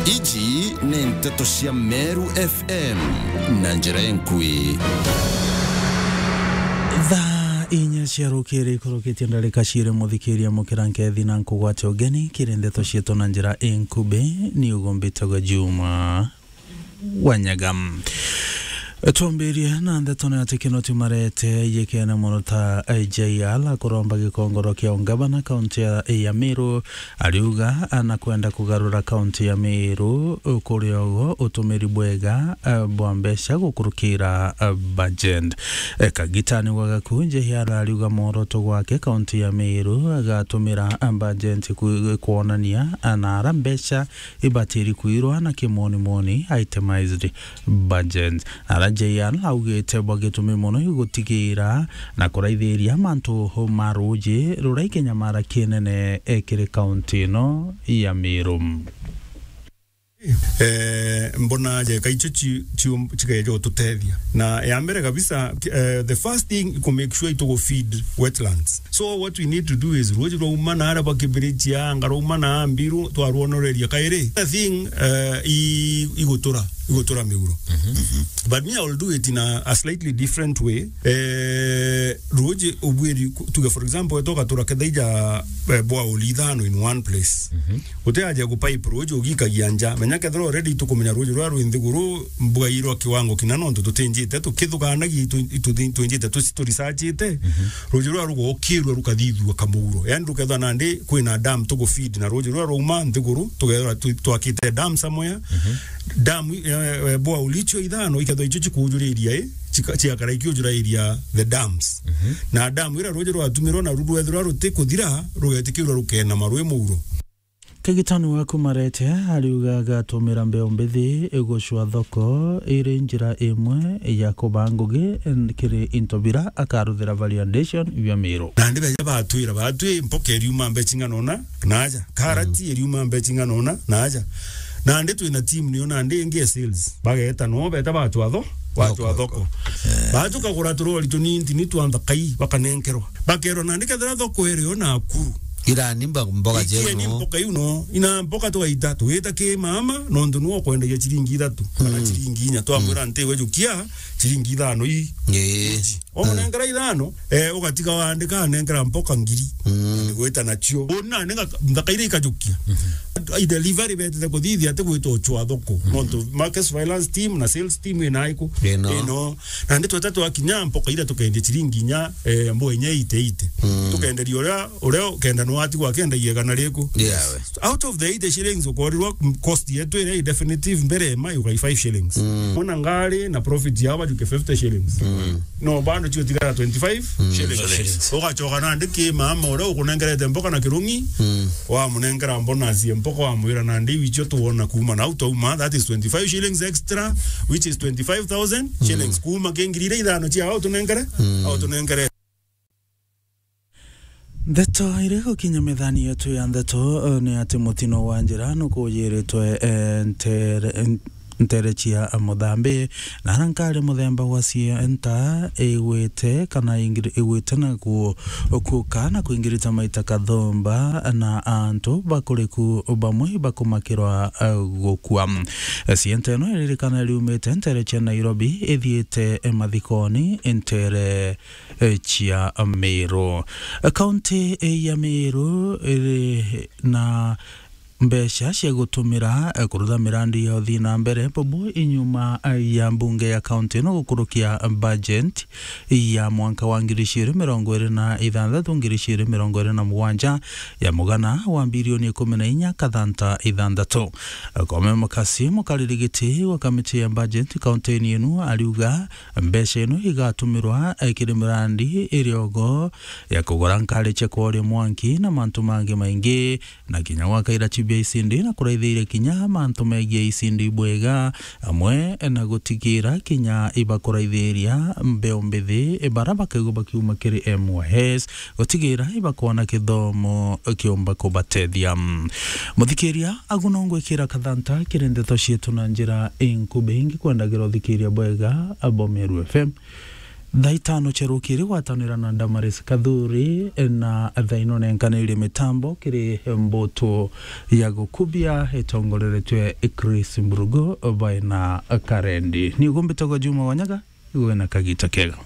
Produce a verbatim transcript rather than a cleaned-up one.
Iji ni nteto cia Meru F M na njira inkui. Thaa inya cia rukiri ikurukitie ndarika ciiri, muthikiria, mukira nkethi na nkugwate ugeni kiri nteto cietu na njira inkubi. Ni ugumbitagwa Juma Wanyaga. Twambirie na ndeto ni ati Kinoti Marete yikene mono ta J R kuromba gikongoro kia ungavana kaunti ya, ya Meru. Ariuga anakwenda kugarura kaunti ya Meru kuri ogo utumiri bwega, eh, bwa mbeca gukurukira, eh, budget. Eh, kagitani wa gakunje hiara ariuga mworoto gwake kaunti ya Meru agatumira, eh, budget ku-, kwonania, eh, nara mbeca ibatiri kwirwa na kimonimoni, itemized budget. Nara J R augite bwa gitumi mono igutigira na kuraithiria mantu ma ruuji ruria ikinyamara kinene, eh, kiri kaunti ino ya Meru. Eh, mbona jeka icio ci-, ci-, cikeja ututethia. Na ya mbere kabisa, eh, the first thing ku make sure itugu feed wetlands. So what we need to do is, ruuji rwauma na aria bwa Kibirichia, anga rwauma na Mbiru, twarwonoreria kairi. The thing, eh, i-, igutura, igutura miuro. But me, I will do it in a, a slightly different way. Eh, ruuji ubwiri ku-, tuge for example, etoka tura ketheija, eh, borehole ithano in one place. Uti aja ku pipe ruuji ugikagia nja. Menya kethira already tukumenya ruuji ruria rwi nthiguru mbwairwa kiwango kina nontu tutinjite, tukithukanagia itu-, itu-, twinjite tuci-, turisachite. Ruuji ruria rugokirua rukathithua kamuuro. Yani rukethwa nandi kwina dam tugu feed na ruuji ruria rwauma nthiguru, tukethwa tu-, twakite dam somewhere. Dam, eh, eh, borehole icio ithano ikethwa icio cikujuriria, eh, cika-, ciakara ikiujurairia the dams. Na dam iria ruuji rwatumirwa na ru rwethirwa rutikuthira, rugetikirwa rukena marui muuro. Kagitani waku Marete ariuga agatumira mbeu mbithi gucwa thoko iri njira imwe ya kuba ngugi kiri into bira akaruthira value addition bia Meru. Nandi beja batwira, batwi mpoka iriuma mbeca ing'ana una na aja, karati iriuma mbeca ing'ana una na aja. Nandi twina team niyo nandi ingi ya sales. Bageta no beta bachwa tho-, bachwa thoko. Batu kagura turori tunini tuni twa nthakai bakanenkerwa. Bakerwa nandi kethira thoko irio Nakuru. Irani mba-, mboga ikieni jeru no. Mboka iu no. Ina mboka twaita, tugita ki mama, nontu niwe ukwendagia ciringi ithatu, kana ciringi inya. Twamwira ntiwe jukia, ciringi ithano ii. Ii. Wamunengera ithano, eh, ugatiga wandika, anengera mboka ngiri. Gwita nacio. Una nenga nthaka iria ikajukia. I delivery betete kuthithia ati gwita uchwa thoko. Nontu market surveillance team na sales team ina iku. Ino. Ino. Na ndi tweta twakinya mboka iria tukendia ciringi inya, eh, mbo inya ite ite. Tukenderia uria, uria ukenda no atigwa akendagia igana riku. Out of the eighty shillings ukorirwa cost yetu iria i definitive mbere ma yuga five shillings. Mona ngari na profit yao bajuke fifty shillings. No bado cio tigara twenty-five shillings. Ugachoka nandi ki mama uria ukunengerete mboka na kirungi, wamunengera bonus ya mboka, wamwira nandi icio tuona kuuma na au twauma, that is twenty-five shillings extra, which is twenty-five thousand shillings. Kuuma ki ngiri iria ithano cia au tunengere, au tunengere. Ndeto iri gukinya methani yetu ya ndeto, eh, ni ati mutino wa njira nukujiritwe, eh, ntere, ntere cia Muthambi, na ara nkari muthemba wa Sienta igwite kana ingiri-, igwite na ku-, kuuka na kuingirita maita kathumba na antu bakuriku bamwe bakumakirwa, eh, gukua. Sienta ino iririkana iriumite ntere cia Nairobi ithiite, eh, mathikoni ntere eh, cia Meru. Kaunti, eh, ya Meru iri na mbeca cia gutumira, eh, kurutha mirandi ya uthii na mbere, bubu inyuma, eh, ya mbunge ya kaunti ino gukurukia budget ya mwanka wa ngiri ciiri mirongo iri na ithanthatu, ngiri ciiri mirongo iri na mugwanja ya mugana wa mbirioni ikumi na inya kathanta ithanthatu. Kome Mukasi, mukariri giti wa kamiti ya budget kaunti-ini inu, ariuga mbeca ino igatumirwa, eh, kiri mirandi iri ogo ya kugura nkari cia kworia mwanki na mantu mangi maingi, na kinya gwaka irachi bia icindi na kuraithiria kinya mantu megie icindi bwega, amwe na gutigira kinya ibakuraithiria mbeu mbithi bara bakaigua bakiuma kiri M Y S, gutigira ibakwona kithomo kiumba kubatethia. Muthikiria, agu no ngwikira kathanta kiri ndeto cietu na njira inkubi, ingi kwendagira uthikiria bwega abo Meru F M. Thaa itano cia rukiri gwatanira na Damaris Kathuri, na thaa ino nenkanirie mitambo kiri mbutu ya gukubia itongoreretwe i Chris Mburugu baina Karendi. Ni ugumbitagwa Juma Wanyaga, igwe na kagita kega.